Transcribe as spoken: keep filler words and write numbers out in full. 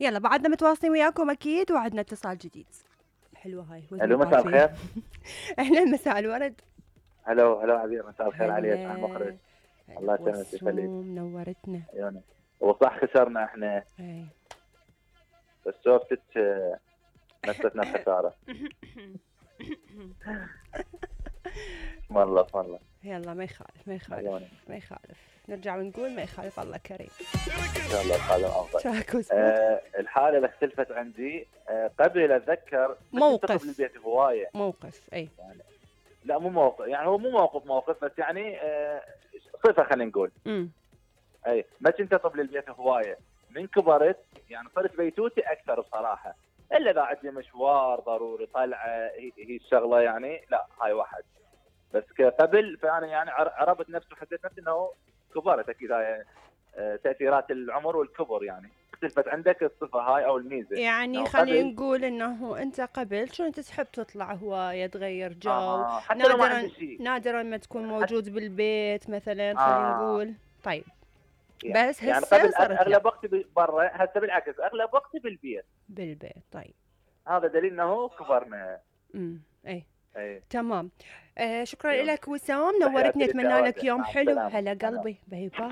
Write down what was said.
يلا بعدنا متواصلين وياكم اكيد وعدنا اتصال جديد. حلوه هاي. الو مساء الخير. اهلا مساء الورد. هلو هلو عبير، مساء الخير عليك على المخرج. الله يسلمك ويخليك. نورتنا. عيونك. وصح خسرنا احنا. اي بس شوفتك نستنا الخساره. اسم الله اسم الله. يلا ما يخالف ما يخالف ما يخالف، نرجع ونقول ما يخالف، الله كريم. ان شاء الله الحاله افضل. آه الحاله اللي اختلفت عندي آه قبل اتذكر موقف بالبيت هوايه. موقف اي يعني لا مو موقف، يعني هو مو موقف موقف بس يعني آه صفه خلينا نقول. امم اي ما كنت اطب للبيت هوايه، من كبرت يعني صرت بيتوتي اكثر بصراحه، الا اذا عندي مشوار ضروري طلعه هي, هي الشغله يعني لا هاي واحد. بس قبل فانا يعني عرفت نفسي وحسيت نفسي انه كبرت اكيد. هاي تاثيرات العمر والكبر يعني اختلفت عندك الصفه هاي او الميزه. يعني خلينا نقول انه انت قبل كنت تحب تطلع هوايه تغير جو. آه. حتى نادرا لو ما عندي شيء، نادرا ما تكون موجود حت... بالبيت مثلا خلينا آه. نقول. طيب يعني بس يعني هسه قبل صارت اغلب وقتي برا، هسه بالعكس اغلب وقتي بالبيت. بالبيت طيب هذا دليل انه كبرنا. امم اي اي تمام. آه شكرا لك وسام، نورتني، اتمنى لك يوم حلو. هلا قلبي، باي باي.